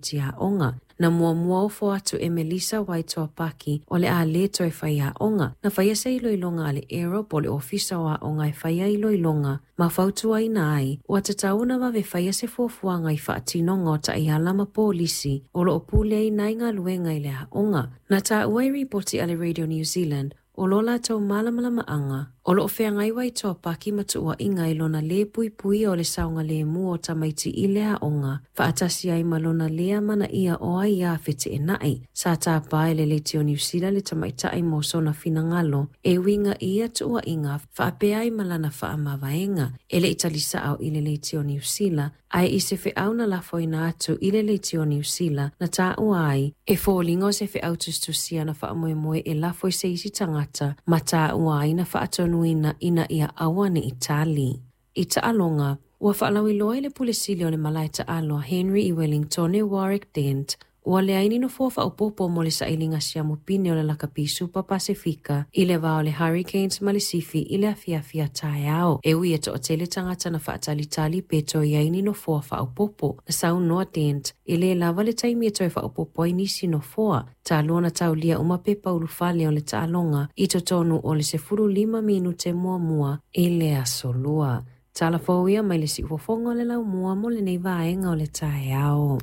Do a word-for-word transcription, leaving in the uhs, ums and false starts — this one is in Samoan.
tamaiti aoga. Na muamua ofo atu e Melissa Waitoa Paki o le a le toe faiaoga. Na faia se iloiloga a le AERO po o le Ofisa o Aoga e faia iloiloga ma fautuaina ai ua tatau ona vave faia se fuafuaga i faatinoga o taiala ma polisi o loo puleaina ai galuega i le aoga. Na taua i ripoti a le Radio New Zealand o lo latou malamalamaaga o loo feagai Waitoa Paki ma tuuaiga i lona lē puipuia o le saogalemu o tamaiti i le aoga faatasi ai ma lona lē amanaia o aiā feteenai. Sa tāpā e le Leitio Niu Sila le tamaitai mo sona finagalo e uiga i ia tuuaiga faapea ai ma lana faamavaega. E le i talisaao i le Leitio Niu Sila ae i se feau na lafoina atu i le Leitio Niu Sila na taua ai e foliga o se feau tusitusia na faamoemoe e lafo i se isi tagata ma taua ai na faatonuina ina ia aua ne i tali. I taaloga, ua faalauiloa e le Pule Sili o le Malae Taalo Henry i Wellingtone Warwick Dent ua leai ni nofoa faaopoopo mo le sailiga siamu pine o le Lakapi Supa Pasefika i le va o le Hurricanes ma le Sifi i le afiafi a taeao. E ui e toatele tagata na faatalitali pe toe i ai ni nofoa faaopoopo. Na saunoa Dent e lē lava le taimi e toe faaopoopo ai nisi nofoa. Talu ona taulia uma pepa ulufale o le taaloga i totonu o le sefulu lima minute muamua i le aso Lua. Tala fou ia mai le siufofoga o le laumua mo lenei vaega o le taeao.